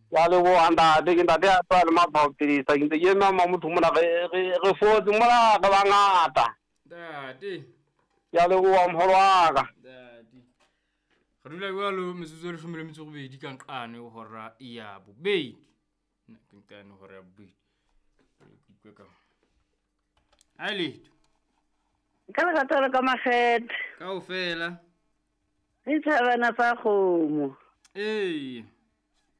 Ke a leboga ntate, ke ntate ya tswa le matshwao pidisa, ke ntse ke eme ma motho mona re re re fotse mona re bangata. Ntate. Ke a leboga mholo wa ka. Ntate. Re dula jwalo metsotso e leshome le metso e robedi ka nqane ho hora ya bobedi. Nna ke nqane hora ya bobedi. Ke utlwe ka. Hai letho. Ka lerato le ka makgethe. Kaofela. Re tshabana sa kgomo. Ee.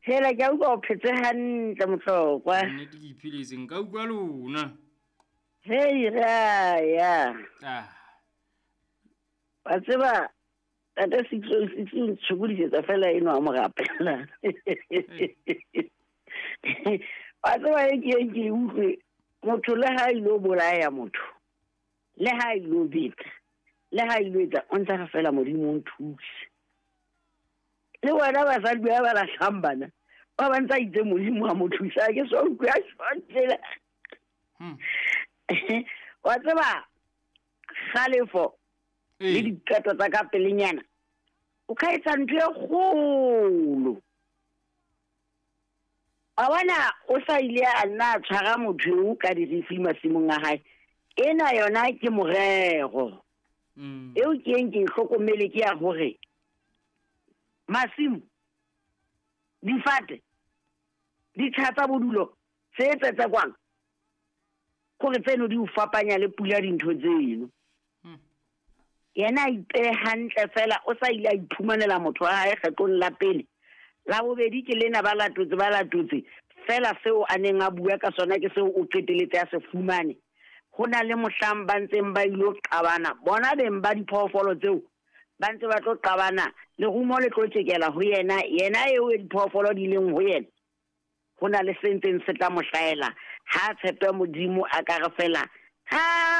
Hela ke a utlwa o phetse hantle mohlokwa. Nnete ke ipheletse nka utlwa lona. Hei re a ya. Ah. Wa tseba tate 606 o ntshokodisetsa fela eno a mo rapela. Wa tseba e ke ke e utlwe motho le ha ilo bolaya motho le ha ilo beta le ha ilo etsa o ntsa re fela modimo o nthuse. Le wena basadi ba ba lahlang bana ba ba ntse a itse modimo a mo thusa ke so utlwe a tjho Wa tseba kgalefo le diqeto tsa ka pelenyana o ka etsa ntho e kgolo. Wa bona o sa ile a nna a tshwara motho eo ka dirifli masimong a hae. Ena yona ke morero. Eo ke eng ke e hlokomele ke ya hore masimo, difate, ditsha tsa bodulo tse tsetsekwang gore tseno di o fapanya le pula dintho tseno. Yena a ipehe hantle fela o sa ile a iphumanela motho wa hae kgetlong la pele. La bobedi ke lena ba latotse ba latotse fela seo a neng a bua ka sona ke seo o qeteletse a se fumane. Ho na le mohlang ba ntseng ba ilo qabana bona beng ba diphoofolo tseo ba ntse ba tlo qabana lerumo le tlo tjekela ho yena yena eo e diphoofolo di leng ho yena. Ho na le se ntseng se tla mo hlahela ha a tshepe Modimo a ka re fela ha.